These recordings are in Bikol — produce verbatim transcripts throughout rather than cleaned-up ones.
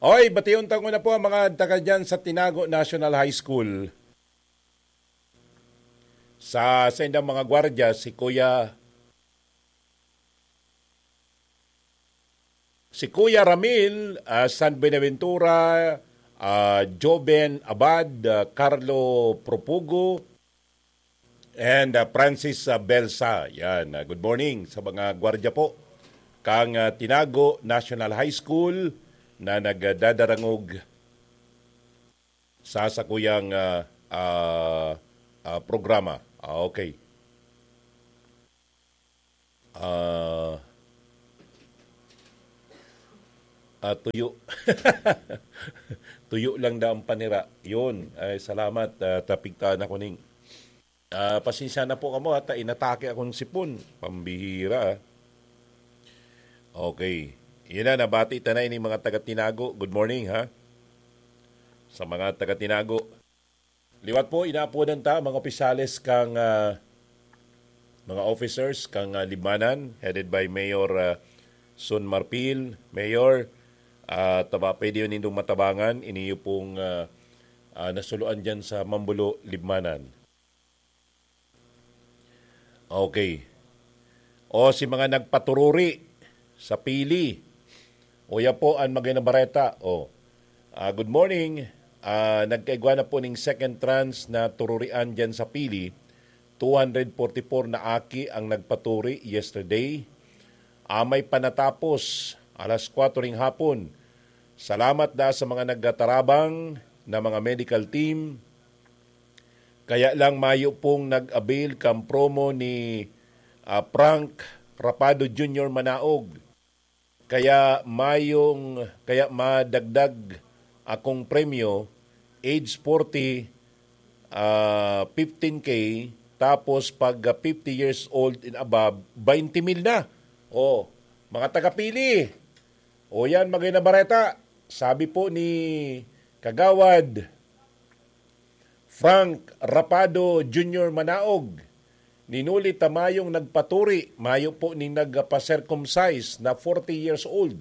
Oy, bation ta nguna po ang mga taga dyan sa Tinago National High School. Sa saindang mga gwardiya, si Kuya, si Kuya Ramil, ah, San Buenaventura, ah, Joven Abad, ah, Carlo Propugo, and, ah, Francis, ah, Belsa. Yan, ah, good morning sa mga gwardiya po kang, ah, Tinago National High School na nagdadarangog sa sakuyang, ah, ah, ah, programa. Ah, okay. Ah, ah, tuyo. Tuyo lang daw ang panira. Yun. Ay, salamat. Ah, tapigtaan ako ning, ah, pasensya na po kamo, ha, ta inatake akong sipon. Pambihira, ah. Okay. Yun na, nabati ta na ini mga taga Tinago. Good morning, ha? Sa mga taga Tinago. Liwat po, inaapodan ta mga opisyales kang, ah, mga officers kang, ah, Libmanan, headed by Mayor, ah, Son Marfil. Mayor, ah, taba, pwede yun nindong matabangan, iniyo pong, ah, ah, nasuluan dyan sa Mambulo, Libmanan. Okay. O si mga nagpatururi sa pili. O, yan po an magandang bareta. O. Ah, good morning. Ah, nagkaigwa na po ning second tranche na tururian dyan sa pili. Two hundred forty-four na aki ang nagpaturi yesterday. Amay pa natapos, alas kwatro ning hapon. Salamat da sa mga nagtatarabang na mga medical team. Kaya lang mayo pong nag-avail kan promo ni, ah, Frank Rapado Junior Manaog. Kaya mayong, kaya madagdag akong premyo, age forty, ah, fifteen K, tapos pag, ah, fifty years old and above, twenty mil na. O, mga tagapili. O yan, magandang bareta. Sabi po ni Kagawad Frank Rapado Junior Manaog, ninuli ta mayong nagpaturi, mayo po ning nagpa-circumcise na forty years old.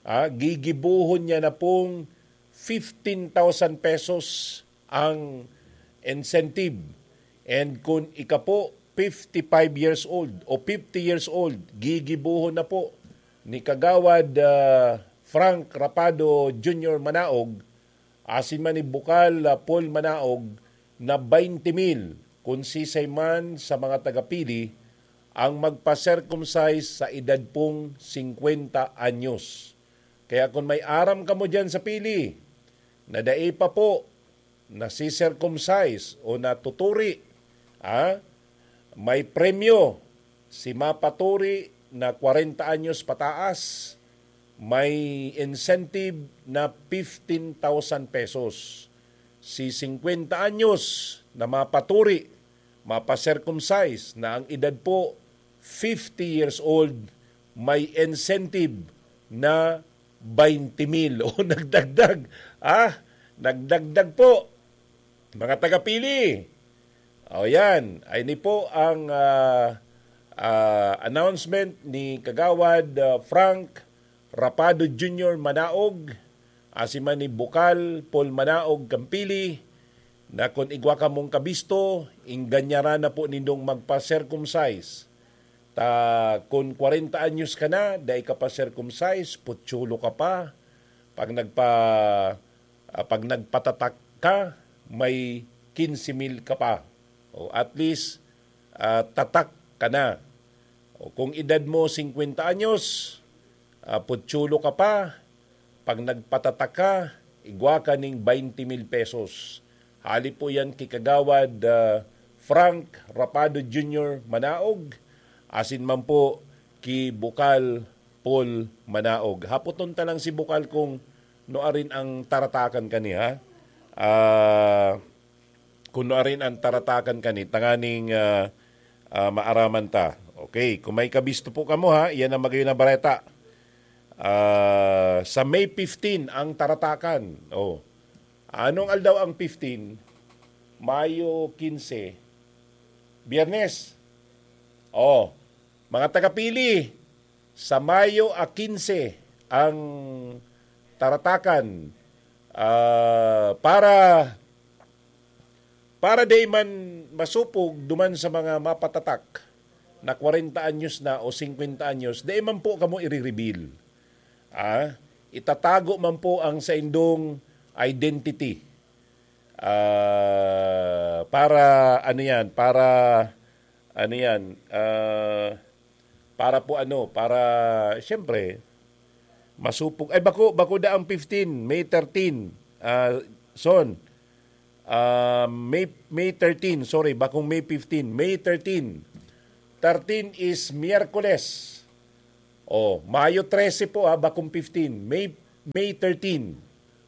Ah, gigibohon niya na pong fifteen thousand pesos ang incentive. And kung ika po, fifty-five years old o fifty years old, gigibohon na po ni Kagawad, ah, Frank Rapado Junior Manaog, asin man ni Bukal, ah, Paul Manaog, na twenty mil, kun sisay man sa mga tagapili ang magpa-circumcise sa edad pong singkwenta anyos. Kaya kun may aram kamo diyan sa pili na dai pa po nasi-circumcise o natuturi, ah, may premyo si mapaturi na kwarenta anyos pataas, may incentive na fifteen thousand pesos. Si singkwenta anyos na mapaturi, mapa-circumcise na ang edad po fifty years old, may incentive na twenty mil. O, nagdagdag. Ah, nagdagdag po. Mga tagapili. O, yan. Ay, ni po ang, ah, ah, announcement ni Kagawad, ah, Frank Rapado Junior Manaog, asin man ni Bukal Paul Manaog Kampili, na kun igwa kamong kabisto, ingganyaran na po nindong magpa-circumcise. Ta kun kwarenta anyos ka na, dai ka pa circumcise, putsolo ka pa. Pag nagpa-, ah, pag nagpatatak ka, may quince mil ka pa. O at least, ah, tatak ka na. O kung edad mo singkwenta anyos, ah, putsolo ka pa, pag nagpatatak ka, igwa ka ning twenty mil pesos. Hali po yan ki Kagawad, ah, Frank Rapado Junior Manaog, asin man po ki Bukal Paul Manaog. Hapoton ta lang si Bukal kung nuarin ang taratakan kani, ha? Ah, kung nuarin ang taratakan kani, tanganing, ah, ah, maaraman ta. Okay, kung may kabisto po kamo, ha, iyan ang magayon na bareta. Ah, sa May fifteen ang taratakan. Oh. Anong aldaw ang fifteen? Mayo quince. Biyernes. Oh, mga tagapili, sa Mayo a quince ang taratakan, ah, para, para dai man masupog duman sa mga mapatatak na kwarenta anyos na o singkwenta anyos, dai man po kamo ire-reveal. Ah, itatago man po ang saindong identity. Ah, para ano yan, para ano yan, ah, para po ano, para siyempre, masupog. Ay, bako, bako da ang fifteen, May thirteen. Ah, Son, ah, May, May thirteen, sorry, bakong May fifteen, May thirteen. Thirteen is Miyerkules. Oh, Mayo trese po, ah, bakong fifteen, May, May thirteen.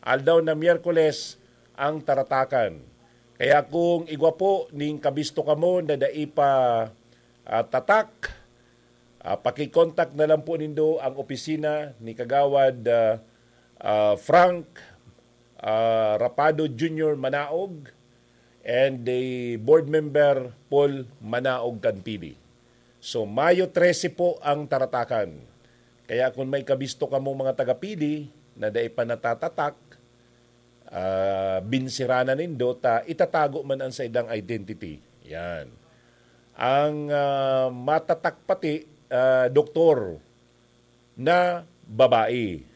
Aldaw na Miyerkules ang taratakan. Kaya kung igwa po ning kabisto kamo na dai pa, ah, tatak, ah, paki-contact na lang po nindo ang opisina ni Kagawad, ah, ah, Frank, ah, Rapado Junior Manaog and the board member Paul Manaog kan P D. So, Mayo trese po ang taratakan. Kaya kung may kabisto kamo mga taga-P D na dai pa natatatak, ah, binsirana nindo ta itatago man ang saindang identity. Yan. Ang, ah, matatak pati, ah, doktor na babae.